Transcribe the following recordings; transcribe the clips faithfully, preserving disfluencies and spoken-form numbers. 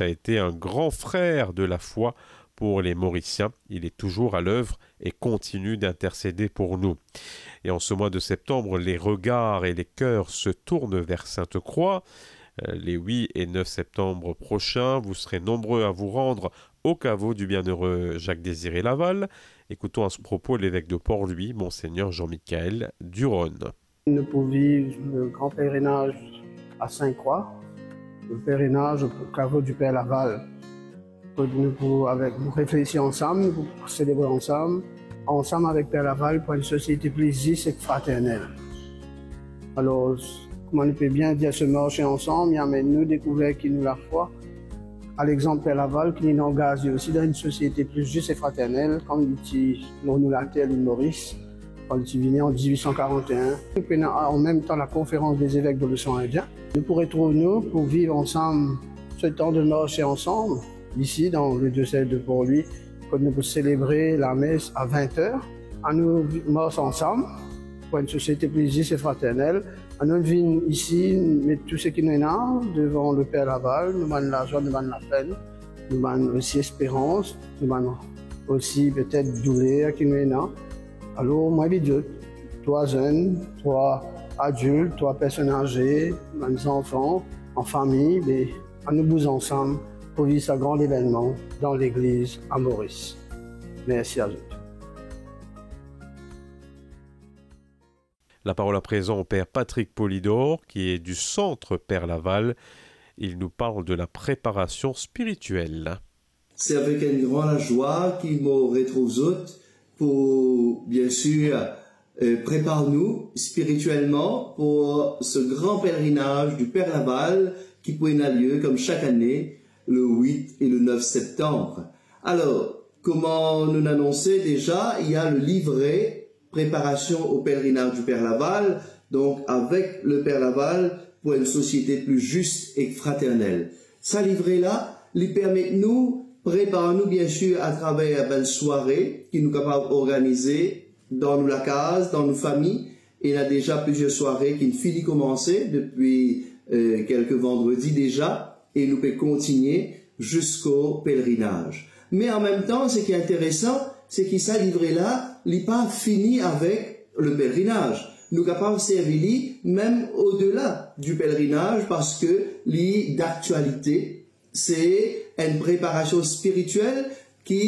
a été un grand frère de la foi pour les Mauriciens. Il est toujours à l'œuvre et continue d'intercéder pour nous. Et en ce mois de septembre, les regards et les cœurs se tournent vers Sainte-Croix. Euh, les huit et neuf septembre prochains, vous serez nombreux à vous rendre au caveau du bienheureux Jacques-Désiré Laval. Écoutons à ce propos l'évêque de Port-Louis, Monseigneur Jean-Michel Duronne. Nou pou viv le gran pelerinaz a Sint-Krwa, le pelerinaz o kavo di Per Laval. Kot nou pou, avek, nou reflesi ansam, nou pou selebre ansam, ansam avek Per Laval pou enn sosiete pli zis ek fraternel. Alor, kouma nou pe bien dir, se marse ansam, li amenn nou dekouver ki nou lafwa. A lexanp Per Laval, ki li angaz li osi dan enn sosiete pli zis e fraternel, kouma li ti lor nou later, Lil Moris, kan li ti vini an diz-wit san karant-e-enn. Nou pena an mem tan la Conférence des évêques de l'océan Indien. Nou pou retrouv nou pou viv ansam se tan de marse ansam, isi dan le diocèse de Port-Louis, kot nou pou selebre lames a vin er. Anou vi-, mars ansam pou enn sosiete pli zis e fraternel. Anou vinn isi, met tou seki nou ena devan le Per Laval, nou bann lazwa, nou bann lapenn, nou bann osi esperans, nou bann osi petet douler ki nou ena. Alor, mo invit zot, trwa zenn, trwa adilt, trwa personn aze, bann zanfan, an fami, be, anou bouz ansam pou viv sa gran evennman dan legliz a Moris. Mersi a zot. La parole à présent au père Patrick Polidor, qui est du centre Père Laval. Il nous parle de la préparation spirituelle. Se avek enn gran lazwa ki mo retrouv zot pou, bien sir, eh, prepar nou spiritielman pou se gran pelerinaz di Per Laval ki pou ena lie kom sak ane le wit e le nef septanm. Alor, kouma nou anonse deza, il y a le livret Préparation au pèlerinage du Père Laval, donk avek le Père Laval, pou enn sosiete pli zis ek fraternel. Sa livre la, li permet nou prepar nou, bien sir, atraver bann sware ki nou kapav organize dan nou lakaz, dan nou fami. Ena deza plizier sware ki fini koumanse depi, eh, kelke vandredi deza, e nou pe kontigne ziska pelerinaz. Me an mem tan, seki interesan, se ki sa livre la, li pa fini avek le pelerinaz. Nou kapav servi li mem odela di pelerinaz, parski li daktialite. Se enn preparasion spiritiel ki,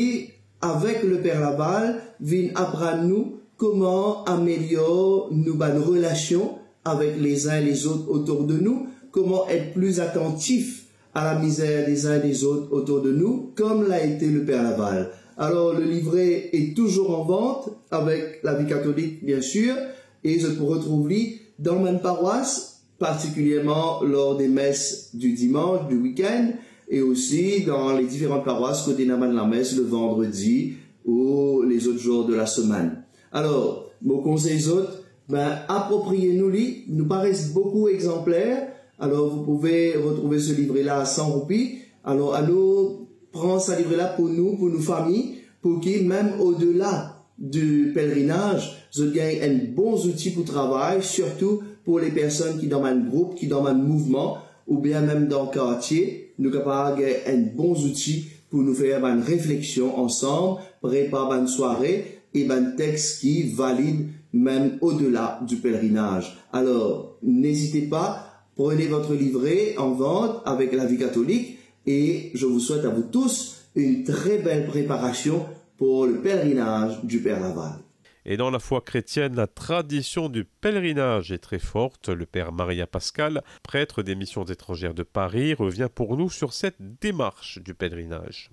avek le Père Laval, vinn aprann nou kouma amelior nou bann relasion avek lezin lezot otour de nou, kouma et pli atantif a la mizer lezin lezot otour de nou, kom l'a ete le Père Laval. Alor, le livre est toujours en vente avec la Vie Catholique, bien sûr, e zot pou retrouv li dan bann parwas, particulierman lor de mes di dimans, di wikenn, e osi dan le diferan parwas kot ena bann lames le vandredi ou lezot zour de la semenn. Alor, mo konsey zot, ben, apropriye nou li, nou pa res boukou exanpler, alors vous pouvez retrouver ce livret-là à cent roupies. Alor, anou pran sa livre la pou nou, pou nou fami, pou ki mem odela di pelerinaz, zot gagn enn bon zouti pou travay, sirtou pou le personn ki dan bann group, ki dan bann mouvman, oubien mem dan kartie, nou kapav gagn enn bon zouti pou nou fer bann refleksion ansam, prepar bann sware e bann tex ki valid mem odela di pelerinaz. Alors, n'hésitez pas, prenez votre livret en vente avec la Vie Catholique et je vous souhaite à vous tous une très belle préparation pour le pèlerinage du Père Laval. Et dans la foi chrétienne, la tradition du pèlerinage est très forte. Le père Maria Pascal, prêtre des Missions étrangères de Paris, revient pour nous sur cette démarche du pèlerinage.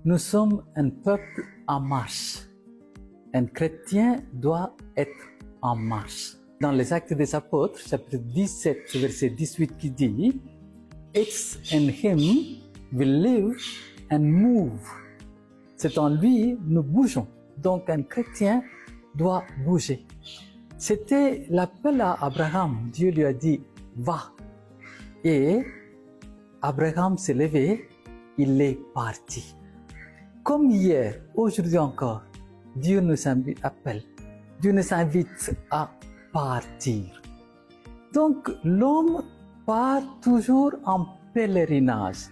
Nous sommes un peuple en marche. Un chrétien doit être en marche. Dans les Actes des Apôtres, chapitre dix-sept, verset dix-huit, qui dit, "It's in him we live and move." C'est en lui nous bougeons. Donc un chrétien doit bouger. C'était l'appel à Abraham. Dieu lui a dit, "Va." Et Abraham s'est levé, il est parti. Comme hier, aujourd'hui encore, Dieu nous invi-, appelle. Dieu nous invite à partir. Donc, l'homme part toujours en pèlerinage.